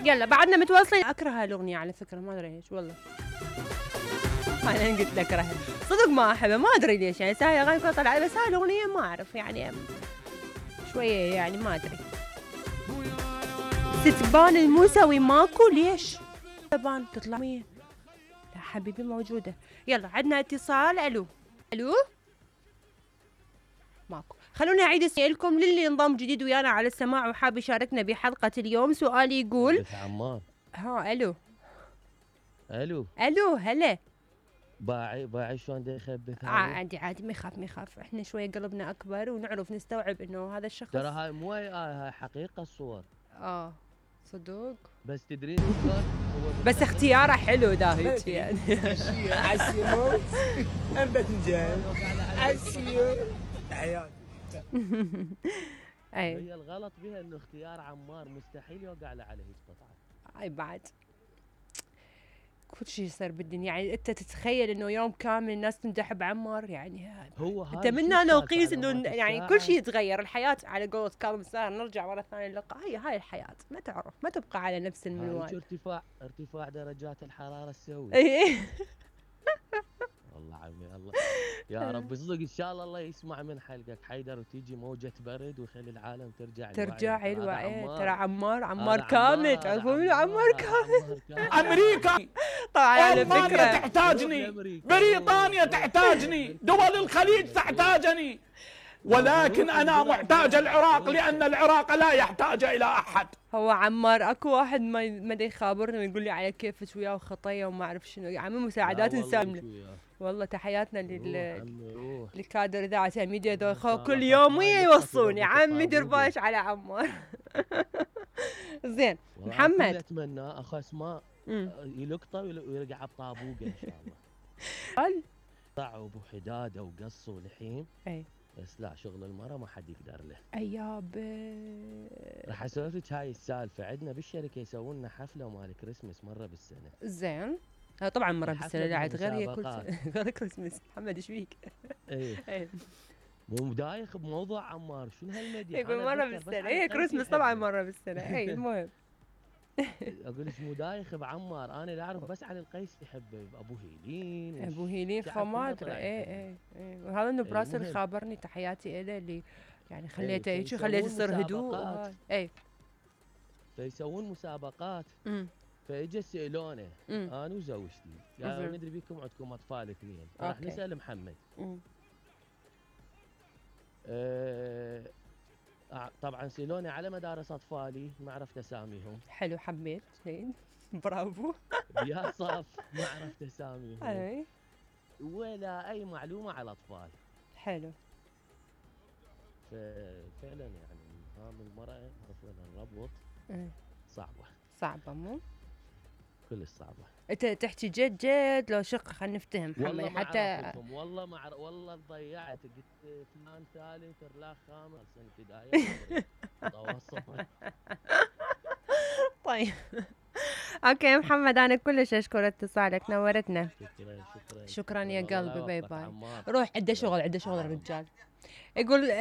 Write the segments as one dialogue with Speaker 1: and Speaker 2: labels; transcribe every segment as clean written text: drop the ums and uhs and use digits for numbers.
Speaker 1: يلا بعدنا متواصلين. اكره هالاغنيه على فكره، ما ادري ليش والله. انا قلت لك اكرهها صدق، ما احبها، ما ادري ليش يعني. ساعه اغاني كلها طلعت، بس هاي الاغنيه ما اعرف يعني شويه يعني ما ادري. ستبان الموسوي ماكو ليش؟ ستبان تطلع مين؟ لا حبيبي موجوده. يلا عندنا اتصال. الو الو ماكو. خلوني اعيد اسالكم للي انضم جديد ويانا على السماع وحاب يشاركنا بحلقه اليوم. سؤالي يقول
Speaker 2: عمار.
Speaker 1: ها الو
Speaker 2: الو
Speaker 1: هلا.
Speaker 2: باعي شلون دا يخبث هذا؟
Speaker 1: عادي ما يخاف. احنا شويه قلبنا اكبر ونعرف نستوعب انه هذا الشخص.
Speaker 2: ترى هاي مو هاي حقيقه الصور.
Speaker 1: صدق.
Speaker 2: بس تدرين شلون؟
Speaker 1: بس اختياره حلو داهيت يعني.
Speaker 3: عسيموت ام باذنجان عسيو حياتي.
Speaker 2: هي الغلط بها انه اختيار عمار مستحيل يوقع له على هيك قطعه.
Speaker 1: اي بعد كل شيء يصير بالدنيا يعني. انت تتخيل انه يوم كامل الناس تمدح بعمار يعني.
Speaker 2: هو
Speaker 1: انت منا نقيس انه يعني كل شيء يتغير. الحياه على قولة كاظم الساهر نرجع مره ثانيه اللقاء. هاي الحياه ما تعرف، ما تبقى على نفس المنوال.
Speaker 2: ارتفاع درجات الحراره تسوي. والله عمي الله يا رب صدق ان شاء الله يسمع من حلقك حيدر وتيجي موجة برد ويخلي العالم ترجع
Speaker 1: الوعي. ترى عمار كامل. تعرفون عمار كامل؟
Speaker 3: امريكا
Speaker 1: طبعا على
Speaker 3: ألمانيا
Speaker 1: فكرة
Speaker 3: تحتاجني، بريطانيا تحتاجني، دول الخليج تحتاجني، ولكن انا محتاج العراق لان العراق لا يحتاج الى احد.
Speaker 1: هو عمار اكو واحد ما يخابرني ويقول لي على كيفك وياه وخطيه وما اعرف شنو. يا عمي مساعدات انسان والله. تحياتنا للكادر اذاعه الميديا ذول كل يوم يوصوني. عمي دير بالك على عمار. زين محمد
Speaker 2: اتمنى اخو اسماء يلقطه ويرجع بطابوقه ان شاء الله.
Speaker 1: قال
Speaker 2: طعوا ابو حداده وقص ولحيم.
Speaker 1: اي
Speaker 2: بس لا، شغل المرأة ما حد يقدر له.
Speaker 1: يابا
Speaker 2: راح اسولف لك هاي السالفه. عندنا بالشركه يسوون لنا حفله مال كريسمس مره بالسنه.
Speaker 1: زين طبعا مره بالسنه لا عاد غير هي كل سنه غير كريسمس. محمد ايش فيك؟
Speaker 2: اي مو دايخ بموضوع عمار. شنو هالمديح؟
Speaker 1: يقول مره بالسنه. هي كريسمس طبعا مره بالسنه. اي المهم
Speaker 2: اقول لك مو دايخ بعمار. انا لا اعرف بس علي القيس يحب ابو هيلين
Speaker 1: فما ادري. اي وهذا انه براسل خابرني. تحياتي له اللي يعني خليته هيك خليته يصير هدوء. اي
Speaker 2: فيسوون مسابقات. فاجى سالونه انا وزوجتي قالوا ندري بيكم عندكم اطفال اثنين راح نسال محمد. طبعا سالوني على مدارس اطفالي ما عرفت اساميهم.
Speaker 1: حلو حبيت زين برافو.
Speaker 2: يا صف ما عرفت اساميهم ولا اي معلومه على الاطفال.
Speaker 1: حلو.
Speaker 2: ففعلا يعني هام المراه عرفنا نربط صعبه
Speaker 1: مو
Speaker 2: كلش صعبه.
Speaker 1: انت تحكي جد لو شق خلينا نفتهم محمد حتى.
Speaker 2: والله ما والله ضيعت. قلت فلان ثالث رلاخ خامس سنه بدايه متوسط.
Speaker 1: طيب اوكي محمد انا كلش اشكر اتصالك نورتنا. شكرا يا قلبي. باي باي. روح عنده شغل الرجال. يقول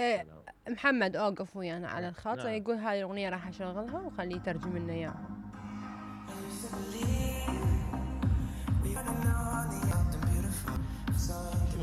Speaker 1: محمد اوقف ويانا على الخط. يقول هاي الاغنيه راح اشغلها وخليه يترجم لنا اياها.